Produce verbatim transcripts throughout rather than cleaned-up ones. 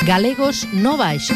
Galegos no baixo.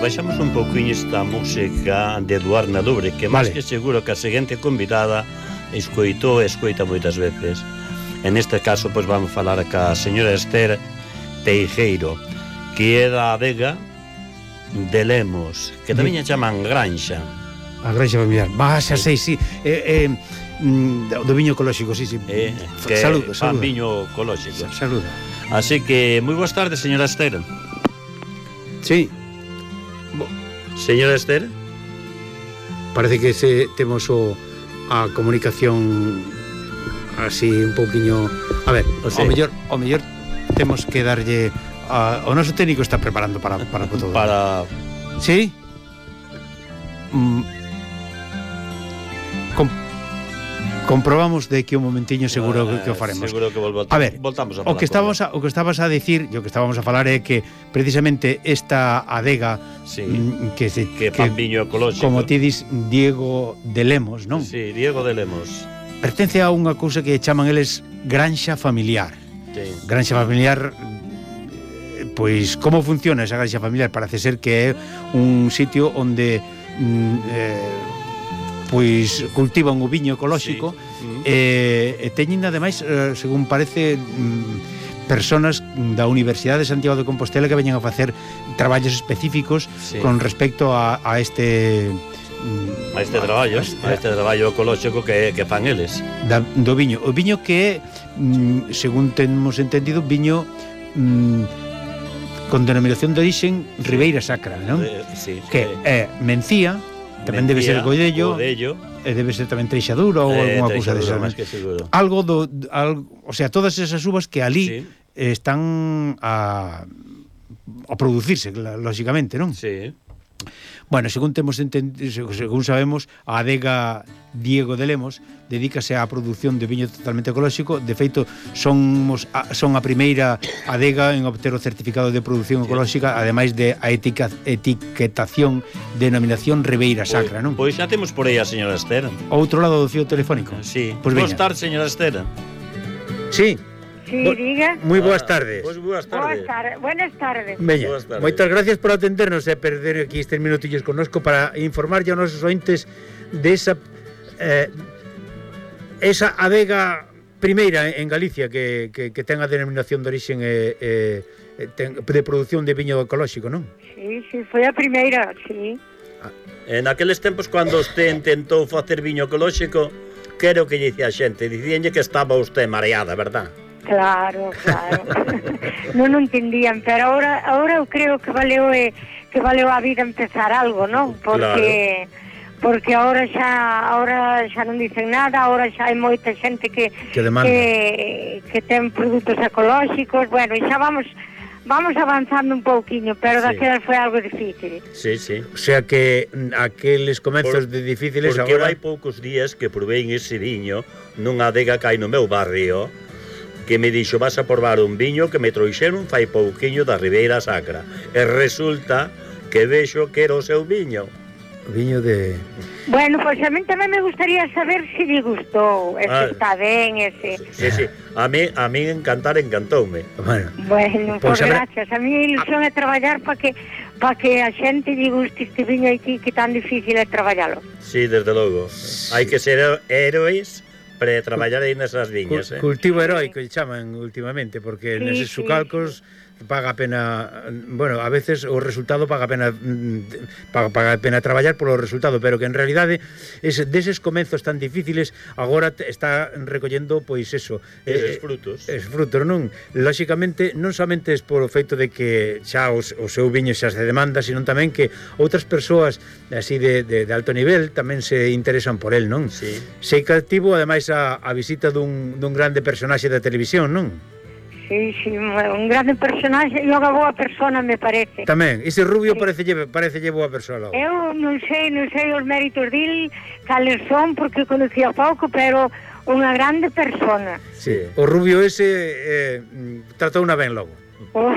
baixamos un pouquinho esta música de Eduard Nalubre, que máis Vale. que seguro que a seguinte convidada escoitou e escoita moitas veces. En este caso, pois vamos falar ca señora Esther Teijeiro, que é da adega de Lemos, que tamén a chaman Granxa. A Granxa familiar. Va, xa sei, sí. Eh, eh, mm, do viño ecolóxico, sí, sí. Eh, que Saludo, fan saludo. viño ecolóxico. Saluda. Así que, moi boas tardes, señora Esther. Sí. Señora Esther? Parece que se temos o a comunicación así un pouquiño. A ver, o, Sí. o mellor, o mellor temos que darlle a, o noso técnico está preparando para para todo. Para... Sí? Mm. Com, comprobamos de que un momentiño seguro Ah, que o faremos. Seguro que volvo, A ver, voltamos a O que falar estábamos a, o que estabas a decir, e o que estábamos a falar é que precisamente esta adega Sí, mm, que se que fan viño ecolóxico. como ti dis Diego de Lemos, non? Sí, Diego de Lemos. Pertence a unha cousa que chaman eles granxa familiar. Sí. Granxa familiar, eh, pois como funciona esa granxa familiar? Parece ser que é un sitio onde mm, eh, pois cultivan o viño ecolóxico. Sí. Mm. E, e teñen ademais, eh, según parece, mm, personas da Universidade de Santiago de Compostela que veñen a facer traballos específicos Sí. con respecto a, a este mm, A este traballo, a este traballo ecolóxico que, que fan eles. da, do viño. O viño que é, mm, según temos entendido, viño mm, con denominación de orixen Ribeira Sacra, non? Eh, sí, Que sí. é Mencía, tamén debe ser Godello, Godello, e debe ser tamén Treixadura ou eh, algunha cousa Treixadura, desa. máis que seguro. Algo do algo, o sea, todas esas uvas que ali Sí. están a a producirse, lógicamente, non? Sí. Bueno, según temos entendido, según sabemos, a adega Diego de Lemos dedícase á produción de viño totalmente ecolóxico. De feito, somos a, son a primeira adega en obter o certificado de produción ecolóxica, ademais de a etica, etiquetación denominación Ribeira Sacra, non? Pois xa temos por aí a señora Esther. Outro lado do fío telefónico. Sí. Pois Boas veña. tardes, señora Esther. Sí. Sí, Bo- diga. Moi boas tardes. Pois boas Boas tardes. tardes. Buenas tardes. Veña, Boas tardes. moitas gracias por atendernos e perder aquí estes minutillos connosco para informarlle aos nosos ointes desa eh, esa adega primeira en Galicia que, que, que ten a denominación de orixen eh, eh, ten, de produción de viño ecolóxico, non? Sí, sí, foi a primeira, sí. En aqueles tempos, cando usted intentou facer viño ecolóxico, que era o que lle dicía a xente? Dicíanlle que estaba usted mareada, verdad? Claro, claro. Non o entendían, pero ahora ahora eu creo que valeu eh, que valeu a vida empezar algo, non? Porque porque ahora xa ahora xa non dicen nada, ahora xa hai moita xente que Que demanda. que, que ten produtos ecolóxicos, bueno, e xa vamos vamos avanzando un pouquiño, pero Sí. daquelas foi algo difícil. Sí, sí. O sea que mm, aqueles comezos Por- de difíciles Porque agora hai poucos días que probei ese viño nunha adega que hai no meu barrio, que me dixo, vas a probar un viño que me trouxeron fai pouquiño da Ribeira Sacra. E resulta que vexo que era o seu viño. viño de Bueno, pois a mí tamén me gustaría saber se lle gustou, e se Ah. está ben, e se... Sí, sí. A mí, a mí encantar encantoume. bueno, Bueno, Pois pues habrá- gracias. A mí a ilusión é traballar para que para que a xente lle guste este viño aquí que tan difícil é traballalo. Sí, desde logo. Hai que ser héroes para traballar aí nesas viñas, Cul- eh? cultivo heroico lle chaman últimamente, porque Sí, neses sí, sucalcos paga a pena, bueno, a veces o resultado paga a pena mm, paga, paga a pena traballar polo resultado, pero que en realidade es, deses comezos tan difíciles agora te, está recollendo pois eso, Eses frutos. es frutos, non? Lóxicamente non somente es por o feito de que xa os, o seu viño xa se demanda, sino tamén que outras persoas así de, de, de alto nivel tamén se interesan por el, non? Sí. Sei que activo ademais a, a visita dun, dun grande personaxe da televisión, non? Sí, sí, un grande personaxe e unha boa persona, me parece. Tamén, ese rubio parece parece boa persoa logo. Eu non sei, non sei os méritos dil, cales son, porque conocía pouco, pero unha grande persona. Sí. O rubio ese eh, tratou unha ben logo. O,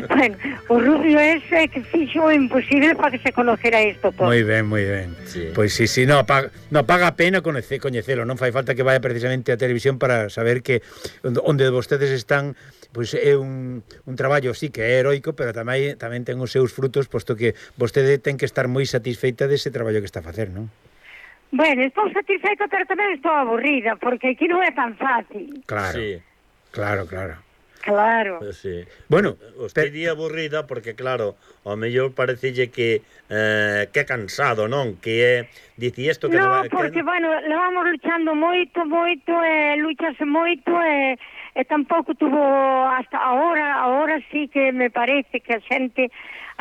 bueno, o rubio ese que fixo o imposible para que se conocera isto todo. Moi ben, moi ben. Sí. Pois si, si, no, paga, no, paga a pena coñece, coñecelo, non fai falta que vaya precisamente a televisión para saber que onde vostedes están pois é un, un traballo sí que é heroico, pero tamén tamén ten os seus frutos, posto que vostede ten que estar moi satisfeita dese traballo que está a facer, non? Bueno, estou satisfeita, pero tamén estou aburrida, porque aquí non é tan fácil. Claro, Sí. claro, claro. Claro. Sí. Bueno, Usted diría aburrida porque, claro, ao mellor parecelle que eh, que é cansado, non? Que é, dici isto que... No, que... porque, bueno, levamos luchando moito, moito, e luchase moito, e, e tampouco tuvo hasta agora, agora sí que me parece que a xente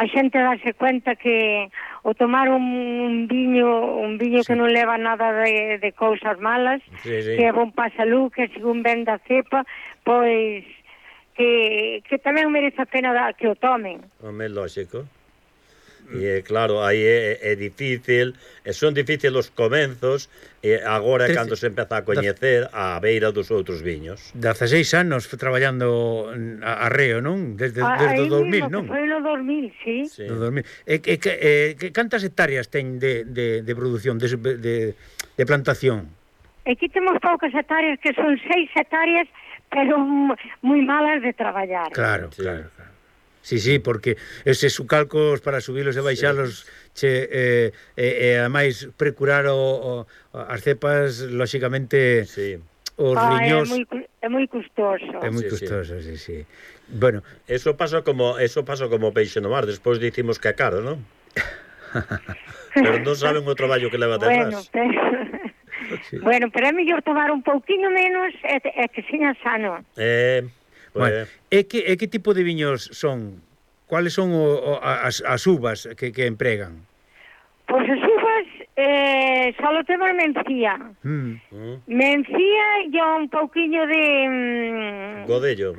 a xente dase cuenta que o tomar un, un viño un viño sí. que non leva nada de, de cousas malas, sí, sí. que é bon pa salud, que según ven da cepa, pois que, que tamén merece a pena da, que o tomen. Home, lógico. E claro, aí é, é difícil, e son difíciles os comenzos, e agora é cando se empeza a coñecer a beira dos outros viños. dezaseis anos traballando a, a reo, non? Desde, desde o dos mil, non? Foi no dos mil, sí. Sí. Do dos mil. E, e, e, e cantas hectáreas ten de, de, de produción, de, de, de plantación? Aquí temos poucas hectáreas, que son seis hectáreas, pero moi malas de traballar. Claro, Sí. claro, claro. Sí, sí, porque eses sucalcos para subilos e baixalos sí. che, eh, e, e ademais precurar o, o, as cepas, lóxicamente, Sí. os ah, riñós... É moi, é moi custoso. É moi Sí, custoso, sí, sí. Bueno, Eso pasa como eso pasa como peixe no mar, despois dicimos que é caro, non? Pero non saben o traballo que leva Bueno, detrás. pero... sí. bueno, pero é mellor tomar un pouquinho menos e, e que seña sano. Eh, Bueno, pues, e que, e que tipo de viños son? Cuáles son o, o, as, as uvas que, que empregan? Pois as uvas eh, só temos mencía. Mm. mm, Mencía e un pouquiño de... Mm, godello.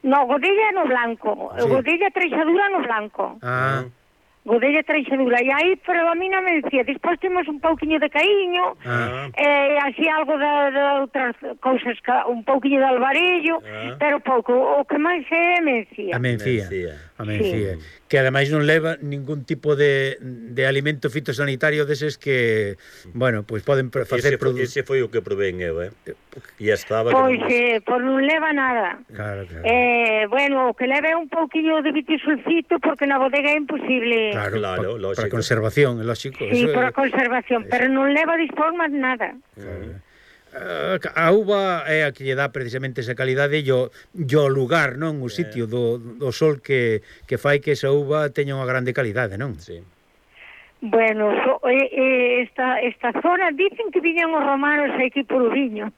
no, godella no blanco. Sí. Godella treixadura no blanco. Ah, Godella treixadura. E aí predomina mencía. Despois temos un pouquiño de caíño. ah. Eh, así algo de, de outras cousas, un pouquiño de alvarello, Ah. pero pouco. O que máis é mencía. A mencía. Mencía. A mencía. Sí. Que ademais non leva ningún tipo de, de alimento fitosanitario deses que, bueno, pois pues poden facer Ese, foi, produ... ese foi o que probén eu, eh? E estaba... Pois, que non... eh, pois non leva nada. Claro, claro. Eh, bueno, o que leve un pouquiño de vitisulfito, porque na bodega é imposible. Claro, Claro, pa, lógico. para conservación, é lógico. Sí, eso para é, conservación, pero non leva dispor máis nada. claro. Uh, a uva é a que lle dá precisamente esa calidade e o, o lugar, non? O sitio do, do sol que, que fai que esa uva teña unha grande calidade, non? Sí. Bueno, so, eh, eh, esta, esta zona dicen que viñan os romanos aquí por o viño.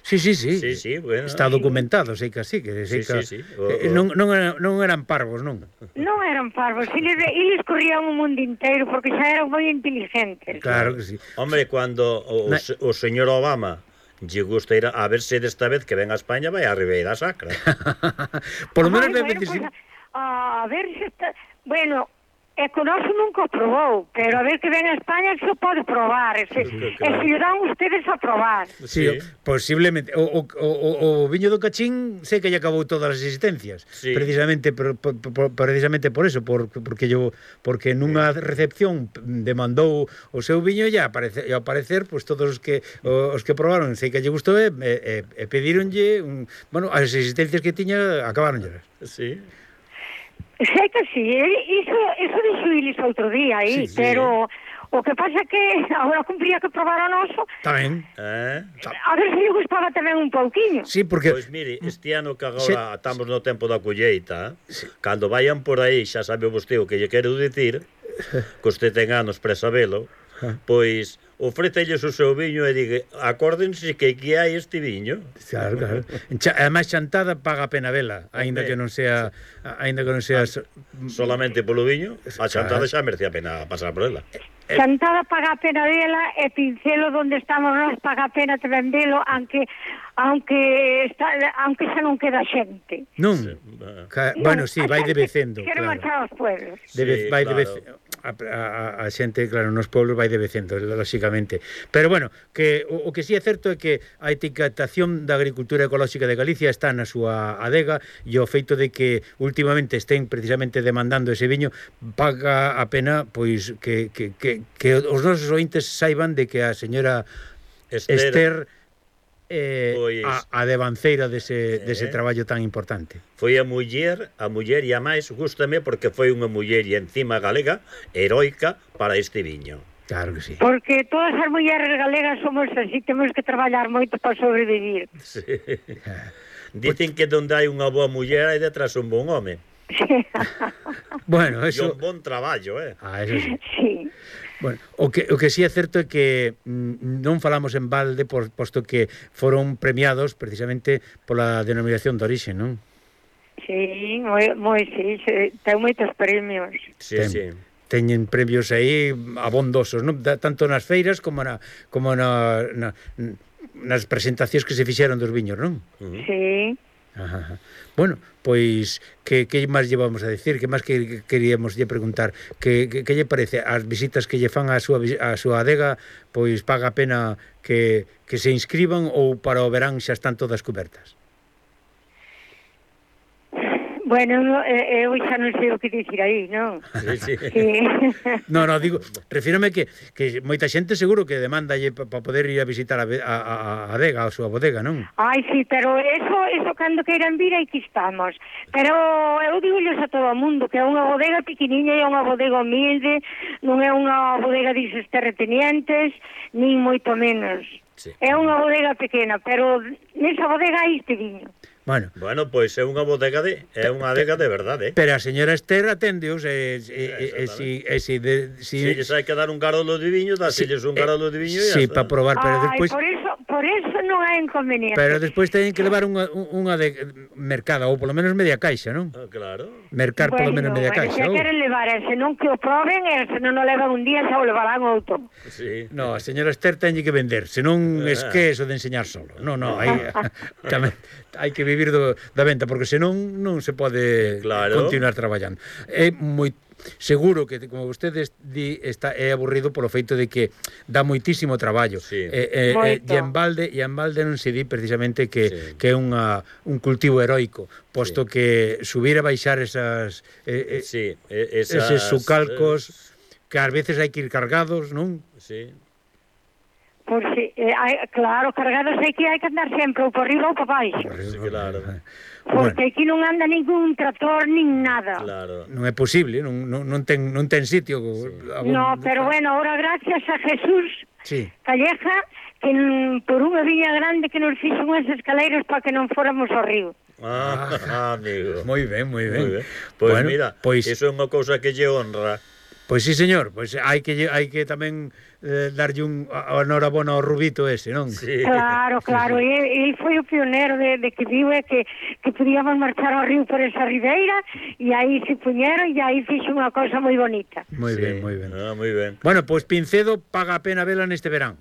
Sí, sí, sí. Sí, sí, bueno. Está documentado, sei que así, que sei Sí, que sí, sí. O, eh, o... non, non, eran, non eran parvos, non? Non eran parvos, eles, eles corrían o mundo inteiro porque xa eran moi inteligentes. Claro que sí. Hombre, cuando o, Na... o señor Obama lle gusta ir a, a ver se desta vez que ven a España vai a Ribeira Sacra. Por lo menos Ay, debe bueno, decir... pues, a, a ver se está... Bueno, é que o noso nunca o probou, pero a ver que ven a España se o pode probar, e se, Claro. e se lle dan ustedes a probar. Sí, sí, posiblemente. O, o, o, o viño do Cachín sei que lle acabou todas as existencias. Sí. Precisamente por, por, por, precisamente por eso, por, porque yo porque nunha recepción demandou o seu viño e aparece, e ao parecer pues, todos os que os que probaron sei que lle gustou e, e, e pedironlle un, bueno, as existencias que tiña acabaronllelas. Sí. Sei que sí, iso, iso dixo Ilis outro día aí, Sí, sí. pero o que pasa que agora cumpría que probar o noso, Tamén. Eh? a ver se lle gustaba tamén un pouquiño. Sí, porque Pois mire, este ano que agora estamos no tempo da colleita, sí. Cando vayan por aí, xa sabe vostede o que lle quero dicir, que usted ten anos para sabelo, pois ofrécelles o seu viño e diga, acórdense que aquí hai este viño. Claro, claro. Cha, además chantada paga a pena vela, aínda que non sea, aínda que non sea so, Solamente polo viño, a chantada xa merece a pena pasar por ela. Cantada paga a pena vela e Pincelo donde estamos nós paga a pena tamén velo, aunque aunque está, aunque xa non queda xente. non. Sí. Ca, bueno, si, sí, vai debecendo, Quero claro. marchar aos pueblos. Debe, Sí, vai claro. debe, a, a, a xente, claro, nos pueblos vai debecendo, lóxicamente. Pero bueno, que o, o que si sí é certo é que a etiquetación da agricultura ecolóxica de Galicia está na súa adega e o feito de que últimamente estén precisamente demandando ese viño paga a pena pois que, que, que, que os nosos ointes saiban de que a señora Esther, Esther eh, Pois- a, a devanceira dese, dese Eh. traballo tan importante. Foi a muller, a muller e a máis gústame porque foi unha muller e encima galega heroica para este viño. Claro que sí. Porque todas as mulleres galegas somos así, temos que traballar moito para sobrevivir. Sí. Dicen que onde hai unha boa muller hai detrás un bon home. Bueno, E eso... un bon traballo, eh? Ah, eso sí. Sí. Bueno, o que, o que sí é certo é que mm, non falamos en balde por, posto que foron premiados precisamente pola denominación de orixe, non? Sí, moi, moi sí, sí, ten moitos premios. Sí, Ten. sí. Teñen premios aí abondosos, non? Da, tanto nas feiras como na como na, na nas presentacións que se fixeron dos viños, non? Uh-huh. Sí. Ajá, ajá. Bueno, pois que que máis llevamos a decir? Que máis que, que queríamos lle preguntar? Que, que, que lle parece as visitas que lle fan á súa a súa adega? Pois paga a pena que que se inscriban ou para o verán xa están todas cobertas? Bueno, no, eh, eu xa non sei o que dicir aí, non? Sí, sí. Sí. No, no, digo, refírome que, que moita xente seguro que demanda para pa poder ir a visitar a, a, a, a adega, a súa bodega, non? Ai, sí, pero eso, eso cando queiran vir, aquí estamos. Pero eu digolles a todo o mundo que é unha bodega pequeniña e é unha bodega humilde, non é unha bodega dices terratenientes, nin moito menos. Sí. É unha bodega pequena, pero nesa bodega hai este viño. Bueno, Bueno, pois é unha bodega de é unha adega de verdade. pero a señora Esther atendeos e, e, e, e, si, e si, de, si, Si lles hai que dar un garolo de viño, dáselles un garolo de viño e sí, ya para está. probar, pero Ai, despois por eso, por eso non hai inconveniente. pero despois teñen que levar unha, unha de mercada ou polo menos media caixa, non? Ah, claro. Mercar polo menos media bueno, caixa. se ou? queren levar, e se non que o proben, e se non o levan un día, xa o levarán outro. Sí. No, a señora Esther teñe que vender, senón es que eso de enseñar solo. No, no, hai tamén hai que vivir do, da venta porque senón non se pode Claro. continuar traballando. É moi seguro que como vostedes di está é aburrido polo feito de que dá moitísimo traballo. Sí. E, e, e, Moito. e en balde e en balde non se di precisamente que Sí. que é unha un cultivo heroico, posto Sí. que subir e baixar esas eh, eh, Sí, e- esas, eses sucalcos que ás veces hai que ir cargados, non? eh, sí. Por si, eh, hai, claro, cargados hai que hai que andar sempre ou por riba ou por baixo. Sí, claro. Porque Bueno, aquí non anda ningún trator nin nada. Claro. non é posible, non, non, non ten non ten sitio. Sí. No, pero bueno, ahora gracias a Jesús Sí. Calleja que mm, por unha viña grande que nos fixo unhas escaleiras para que non fóramos ao río. Ah, ah, amigo. Moi ben, moi ben. Moi ben. Pois Bueno, mira, pois, iso é unha cousa que lle honra. pois sí, señor, pois hai que lle- hai que tamén eh, darlle un a- a enhorabona ao Rubito ese, non? Sí. Claro, claro, e ele foi o pionero de, de que viu é que, que podíamos marchar ao río por esa ribeira e aí se puñeron e aí fixo unha cosa moi bonita. Moi Sí. ben, moi ben. Ah, moi ben. Bueno, pois Pincedo paga a pena vela neste verán.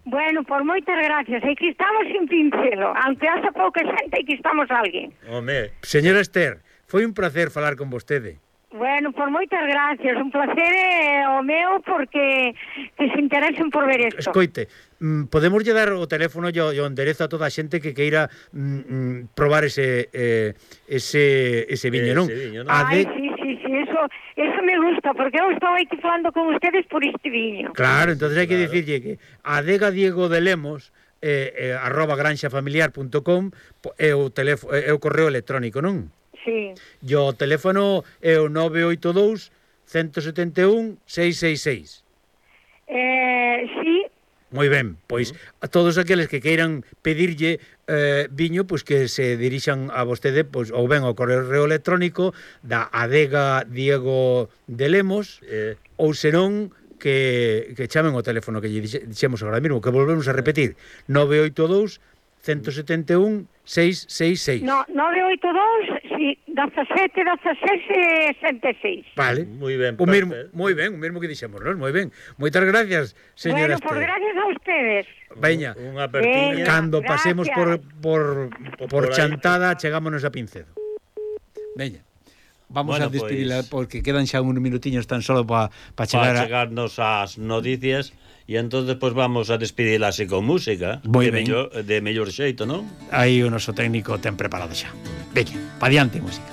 Bueno, por moitas gracias, aquí estamos sin pincelo, aunque hace pouca xente aquí estamos alguén. Home, Señora Esther, foi un placer falar con vostede. Bueno, por moitas gracias, un placer é o meu porque que se interesen por ver isto. Escoite, mm, podemos lle dar o teléfono e o e o enderezo a toda a xente que queira mm, mm, probar ese eh, ese ese viño, non? Ese viño, non? A Ai, de... sí, sí, sí, eso, eso me gusta, porque eu estou aquí falando con ustedes por este viño. Claro, entonces hai que Claro. dicirlle que adega Diego de Lemos eh, eh, arroba granxafamiliar punto com é o teléfono é o correo electrónico, non? Sí. E o teléfono é o nove oito dous, uno sete un, seis seis seis. Eh, sí, Moi ben, pois a todos aqueles que queiran pedirlle eh, viño, pois que se dirixan a vostede pois ou ben ao correo electrónico da adega Diego de Lemos eh, ou senón que, que chamen o teléfono que lle dixe- dixemos agora mesmo, que volvemos a repetir, nove oito dous, uno sete un, seis seis seis. no, nove oito dous, sí, dezasete, dezasete, sete seis. Vale. moi ben. O mesmo, perfecto. moi ben, o mesmo que dixemos, non? Moi ben. Moitas gracias, señora Bueno, por Esther. gracias a ustedes. Veña, Unha apertiña. Venga. cando pasemos por Gracias. por Por por aí. chantada, chegámonos a Pincedo. Veña. Vamos Bueno, a despedila pois- porque quedan xa uns minutiños tan solo para pa chegar Para a... chegarnos ás noticias e entón despois vamos a despedirla así con música. Moi de ben. mellor, de mellor xeito, non? Aí o noso técnico ten preparado xa. Veña, pa diante música.